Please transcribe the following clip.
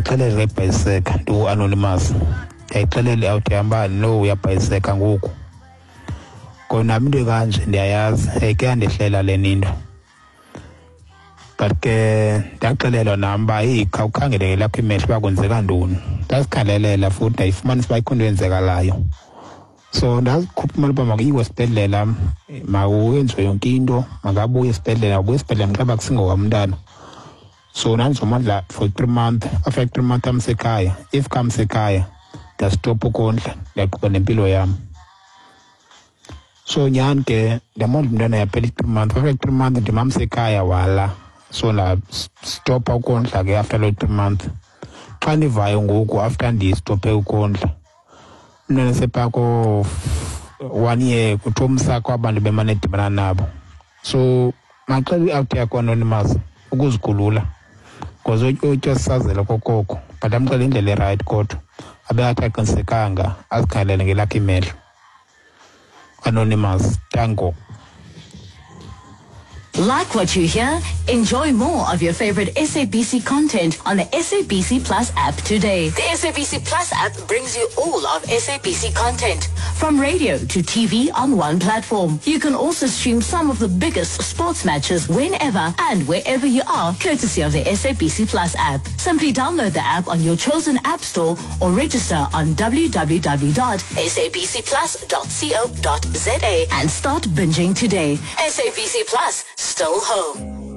Ndiyayixelela ibhayiseka, ndingu-Anonymous. Ndiyayixelela i-out yam uba no, uyabhayiseka ngoku. Kona nam into ekanje ndiyayazi, ke yandehlela lena into. But ke ndaxelelwa nam uba heyi, khawukhangele ngelakho imehlo uba kwenzeka ntoni. Ndazikhalelela futhi ndayifumanisa uba ikho into eyenzekalayo. So ndazikhupha imali uba makuyiwe esibhedlela, makuyenziwe yonke into, makabuye esibhedlela, abuye esibhedlela mxeba uba kusingowam umntana. So ndandizomondla for 3 months. After 3 months amsekhaya, if kamsekhaya ndastopha ukondla, ndiyaqhuba nempilo yam. So nyhani ke ndamondla umntana, yaphela i-3 months. After 3 months ndimamsekhaya, wala. So ndastopha ukondla ke after loo 3 months. Xa ndivayo ngoku after ndistophe ukondla, umntana sephaa ko-1 year, kuthiwa umsa kwabantu bemane edibana nabo. So maxela i-out yakho, Anonymous, ukuzikhulula because utya sisazela kokoko, but amxele indlela erayithi, kodwa abe athi aqinisekanga, azikhalele ngelakhe imehlo. Anonymous, tango. Like what you hear? Enjoy more of your favorite SABC content on the SABC Plus app today. The SABC Plus app brings you all of SABC content, from radio to TV on one platform. You can also stream some of the biggest sports matches whenever and wherever you are, courtesy of the SABC Plus app. Simply download the app on your chosen app store or register on www.sabcplus.co.za and start binging today. SABC Plus, still home.